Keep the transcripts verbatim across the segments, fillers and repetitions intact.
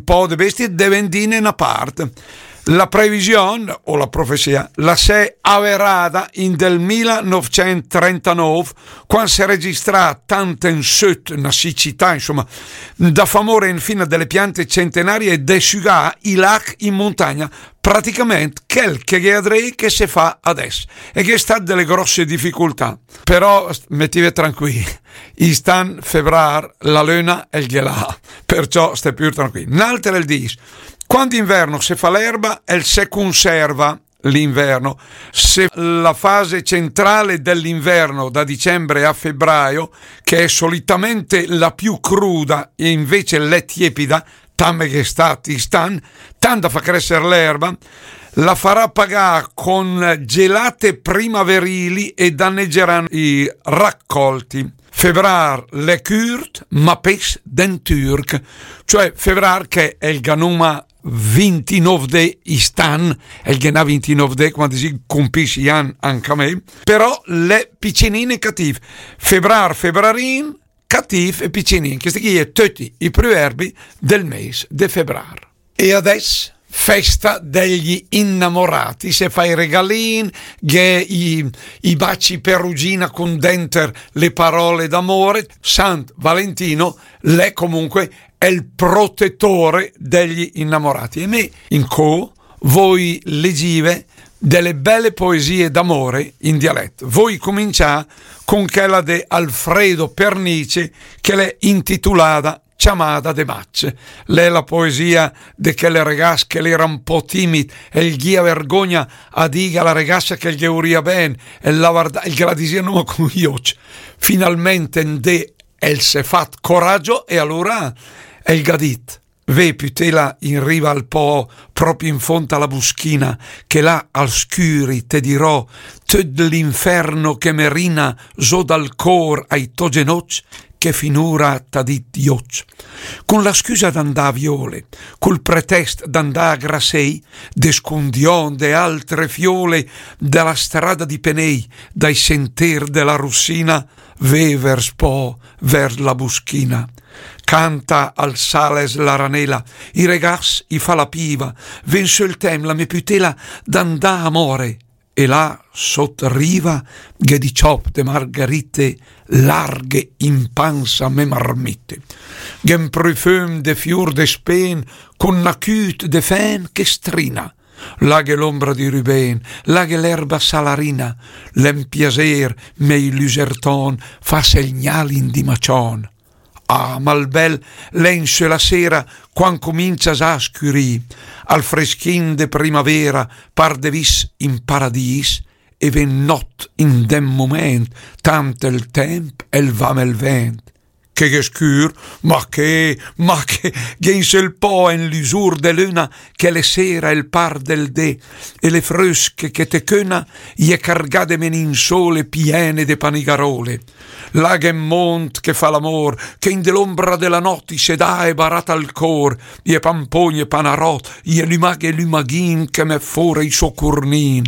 pò de bestie de vendìne na part. La previsione, o la profezia, la s'è averada in del mila novecent trentanòv, quand s'è registrà tant en söt na sicità, insoma, da fà mór infina de le piante centenarie e de sügà i lach in muntagna, praticament chèl che gh'è adré che se fa adès. E gh'è stat de le grosse dificultà. Però st-, metìve tranquì, ist'an febrar la löna el gh'è là, perciò stè pür tranquì. N'alter el dis, quand d'inverno se fa l'erba, el se conserva l'inverno. Se la fase centrale dell'inverno, da dicembre a febbraio, che è solitamente la più cruda e invece l'è tiepida, tant che gh'è stat ist'an, tant da fà crèsser l'erba, la farà pagà con gelate primaverili e danneggeranno i raccolti. Febrar l'è cürt, ma pès d'en türch, cioè febrar che el gh'à numa vintinòv dé ist'an, el ghe n'à vintinòv dé, quand si compì i an anca mé, però l'è picinin e catìv. Febrar, febrarin, catìv e picinin. Chèsti chì è töti i pruerbi del mes de febrar. E adès, festa degli innamorati, se fa i regalin, gh'è i, i baci perugina con denter le parole d'amore. San Valentino l'è comunque el protettore degli innamorati. E mé, incö, vöi legìve de le bèle poesie d'amore in dialèt. Vöi comincià con chèla de Alfredo Pernice, che l'è intitulada Ciamada de maç. L'è la poesia de chèl regass che l'era un pò timid, el gh'ìa vergogna a dìga a la regassa che el ghe vurìa ben, el la varda-, el ghe la disìa numa con i öcc. Finalment en dé el s'è fat coragio e alura el gh'à dit: Vé, pütéla, in riva al pò, pròpi in fónd a la buschina, che là al scüri te dirò töt l'inferno che me rina zó dal cór ai tò genócc, che finura t'à dit Diócc. Con la scüsa d'andà a vióle, col pretèst d'andà a graséi, de scundiòn de altre fióle, da la strada di Penéi, dai sentér de la Russina, vé vers pò, vers la buschina. Canta al sàles la ranela, i regass i fa la piva, vé in sö 'l tèmp la mé pütéla d'andà a móre, e là sót riva gh'è di ciòp de margarite larghe in pansa a mé marmite. Gh'è un prufüm de fiur de spén con na cüt de fèn che strina. Là gh'è l'ombra di Rubén, là gh'è l'erba salarina, l'è un piasér, mé i lüsertòn, fà segnàl in di maciòn. Ah, ma 'l bèl l'è in sö la séra, quand comincia zà a scürì, al freschin de primavéra, par de vis in paradìs, e vé nòt in d'en momènt, tant el tèmp el va 'mel vènt. Che gh'è scür, ma che, ma che, gh'è in sö 'l pò en lüsur de löna, che l'è séra el par del dé, e le frösche che te cöna, i è cargà de menin sóle piene de panigaròle. Là gh'è un mónd che fa l'amór, che in de l'ombra de la nòt i se dà e barat al cór, i è pampógn e panaròt, i è lümagh e lümaghin che mèt fóra i sò curnin.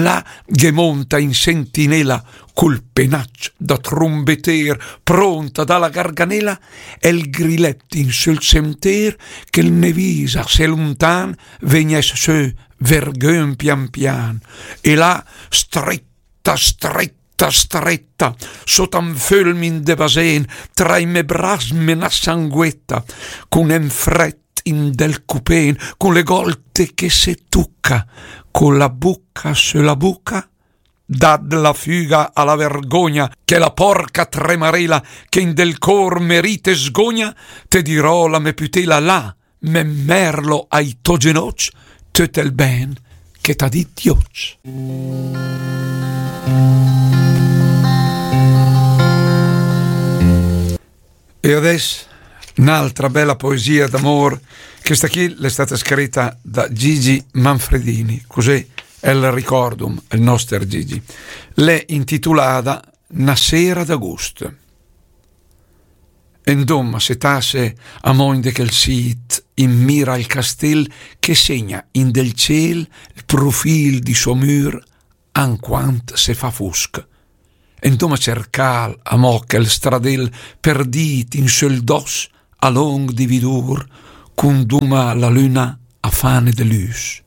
Là gh'è mónta in sentinéla, col penacc da trumbetér, prónt a dà la garganéla, e 'l grilèt in sö 'l sentér, che 'l me visa se luntan vegnès sö vergönt pian pian. E là, strèta, strèta, strèta, sóta un fölmin de basén, tra i me bras me na sanguèta, con en frèt in del cupén, con le gòlte che se tuca, con la buca sö la buca, dàt la füga a la vergogna, che la pòrca tremarela che in del cór me rì te sgogna, te dirò la me pütéla là, me mèrlo ai tò genócc, töt el bèn che t'à dit Diócc. E adès n'altra bèla poesia d'amór, chèsta chì l'è stata scrita da Gigi Manfredini, cusé el ricòrdum, el nòster Gigi. L'è intitulada Na séra d'agust. Endóma se tase amò in de chèl sít, in mira al castél che segna in del cél 'l prufìl di sò mür anquant se fa fusch. Endóma cercàl amò chèl stradél perdìt in sö 'l dòs a lóngh di vidur, cunduma la lüna a fane de lüs.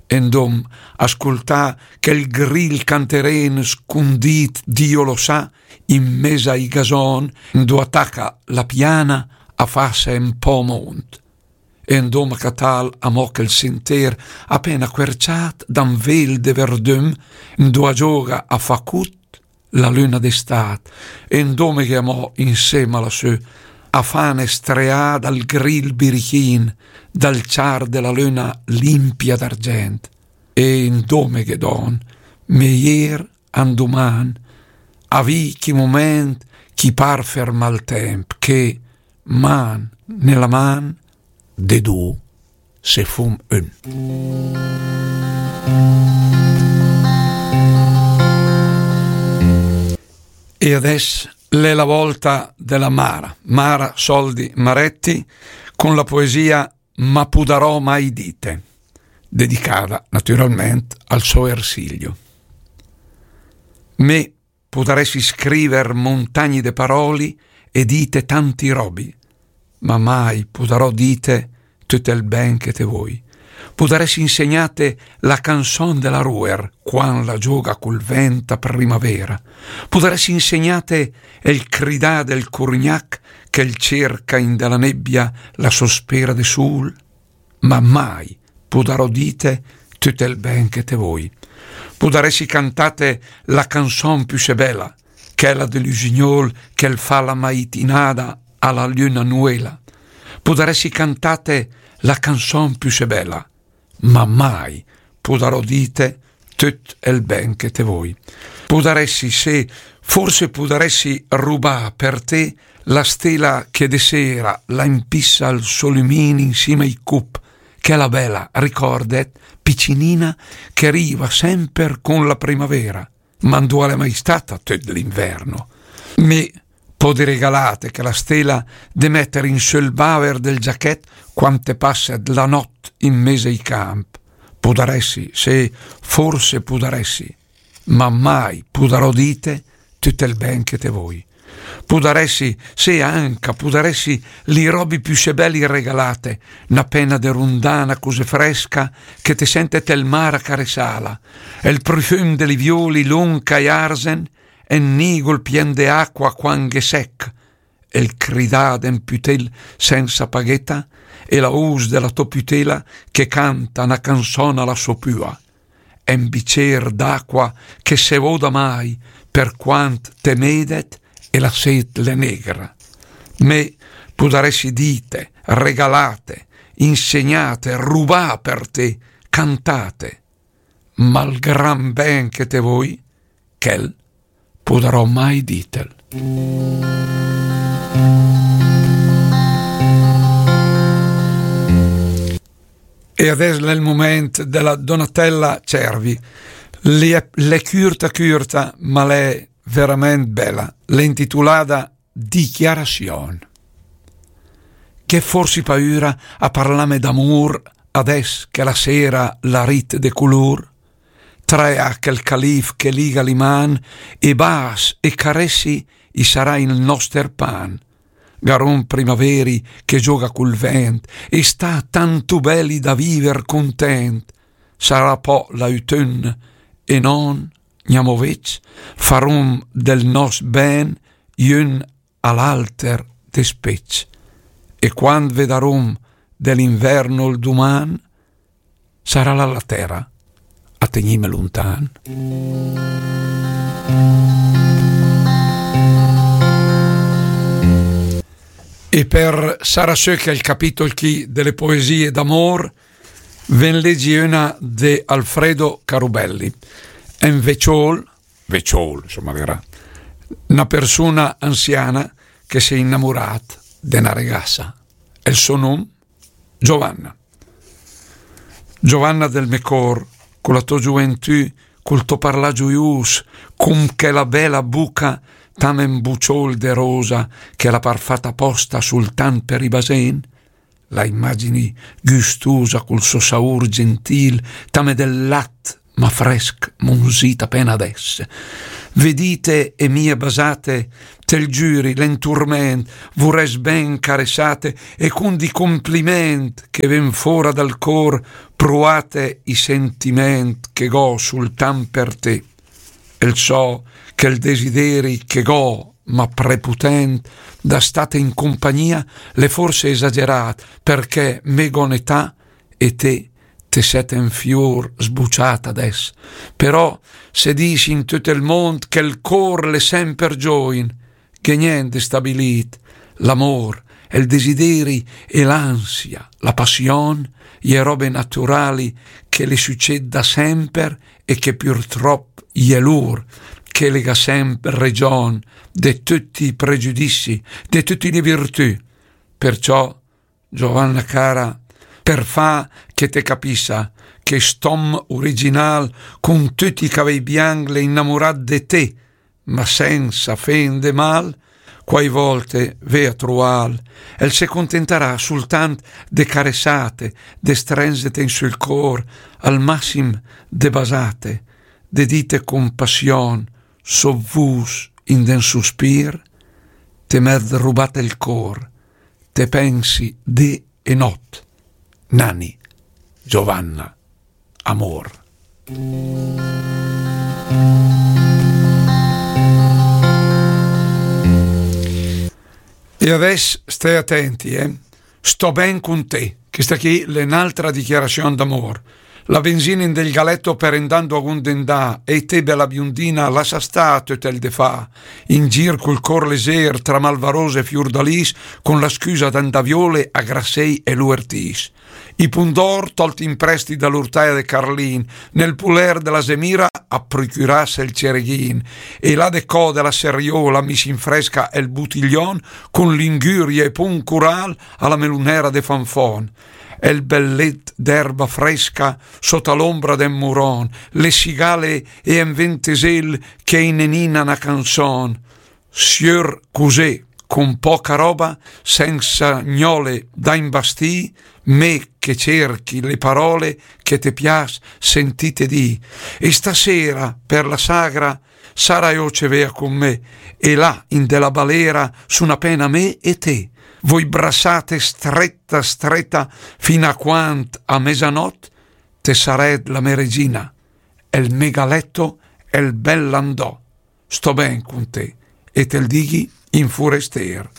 E 'ndom a scultà chel gril canterén scundit, Dio lo sa, in mes ai gason, 'ndo a taca la piana a fase 'n pò mont. E 'ndom a catàl amò chel sentér apena cuerciat da 'n vel de verdüm, 'ndo a gioga a fa cut la lüna d'estat, e 'ndomeghe amò insema lassù a fane streà dal gril birichin, dal ciar de la lüna limpia d'argent. E 'ndomeghe don, meier anduman, a vì chi mument chi par fermà 'l temp, che man nella man de du se fum ün. E adès l'è la volta de la Mara, Mara Soldi Maretti, con la poesia Ma pudarò mai dite, dedicada naturalment al so Ersilio. Me pudaressi scriver montagni de paroli e dite tanti robi, ma mai pudarò dite tüt el ben che te voi. Pudaressi insegnate la canson de la ruer quand la gioga cul vent a primavera. Pudaressi insegnate el cridà del curgnac che 'l cerca in de la nebbia la sospera de sul, ma mai pudarò dite tüt el ben che te voi. Pudaressi cantate la canson püsé bela, chela de l'üsignol che 'l fa la maitinada a la lüna nuela. Pudaressi cantate la canson püsé bela, ma mai pudarò dite tüt el ben che te voi. Pudaressi, se, forse pudaressi rubà per te la stela che de sera la impissa 'l so lümin insima ai cup, chela bela, ricordet, picinina, che riva semper con la primavera, ma 'ndo l'è mai stata tüt l'inverno. Me podi regalate chela stela de metter in sül baver del giachet quand te passet la not in mes ai camp. Pudaressi, se, forse pudaressi, ma mai pudarò dite tüt el ben che te voi. Pudaressi, se, anca pudaressi li robi püsé beli regalate, na pena de rundana cusé fresca che te sentet el mar a caresala, el prufüm de li violi lunch ai arzen, e 'n nigul pien de acqua quand gh'è sech, el cridà de 'n pütel sensa pagheta, e la us de la to pütela che canta na canson a la so püa, e 'n bicer d'acqua che se voda mai per quand te medet e la set l'è negra. Me pudaressi dite, regalate, insegnate, rubà per te, cantate, ma 'l gran ben che te voi, chel pudarò mai ditel. E adès l'è 'l mument de la Donatella Cervi. L'è, l'è cürta cürta, ma l'è verament bela. L'è intitulada Dichiarazion. Gh'è forsi paüra a parlame d'amur adès che la sera l'ha rit de culur? Trae chel calif che liga li man, e bas e caressi i sarà il noster pan. Garum primaveri che gioga cul vent, e sta tantu beli da viver cuntent. Sarà pò l'autun, e non gnamò vec, farum del nos ben i ün a l'alter despecc. E quand vedarum de l'inverno il duman, sarà la, la tera a tegnime luntan. E per sarà sö che il capitol chi delle poesie d'amor, ven legi una de Alfredo Carubelli. È un veciol, veciol, insomma, vera, una persona anziana che si è innamorat de una ragazza. E il suo nome? Giovanna. Giovanna del me cor, con la to gioventù, col to parlà gioius, con quella bella buca, tame un buciol de rosa, che l'ha par fat aposta sultan per i basen, la immagini gustusa col so saur gentil, tame del lat, ma fresc, munzit apena adès. Vedìt e mie basate, te 'l giüri, l'è 'n turment, vurès ben caressate e cun di cumpliment che ven fora dal cor, pruate i sentiment che go sultant per te. El so che 'l desideri che go, ma preputent, da state in compagnia, l'è forse esagerat, perché me go 'n'età e te te set en fiur sbuciat adès. Però se dis in tüt el mond che 'l cor l'è semper giovin, che nient de stabilit, l'amor, el desideri e l'ansia, la passion, i è robe naturali che le süced da semper e che purtrop i è lur che le ga semper region de tüti i pregiudissi, de tüti le virtü. Perciò Giovanna cara, per fa che te capissa che st'om uriginal cun tüti i cavei bianch l'è innamurat de te, ma sensa fende mal, quai volte ve a trual, el se contentarà sultant de caressate, de strenzete in sul cor, al massim de basate, de dite cun passion, sot vus in den suspir, te m'et rubat el cor, te pensi dì e not. Nani, Giovanna, amor. E adès stè atenti, eh? Sto ben cun te. Questa qui l'è n'altra dichiarazione d'amor. La benzina in del galetto per indando a gundendà, e te bella biondina, lassa sta tüt el de fa. In gir cul cor lezer, tra malvarose e fiurdalis, con la scusa d'andà viole a Grassei e Luertis. I pundor, tolt in presti da l'urtaia de Carlin, nel puler de la Zemira a procurasse el cereghin, e là de co de la Seriola mis in fresca el butiglion, con l'inguria e pun cural a la melunera de Fanfon. El bel let d'erba fresca sota l'ombra del muron, le sigale e en ventesel che inenina na canzon. Siur cusè, con poca roba, sensa gnole da imbastì, me che cerchi le parole che te pias sentite dì. E stasera, per la sagra, sara io ce vea con me, e là, in de la balera, su na pena me e te. Voi brassate stretta, stretta, fin a quant a mesanot, te saret la me regina, el me galetto, el bel landò. Sto ben con te, e te 'l dighi in furester.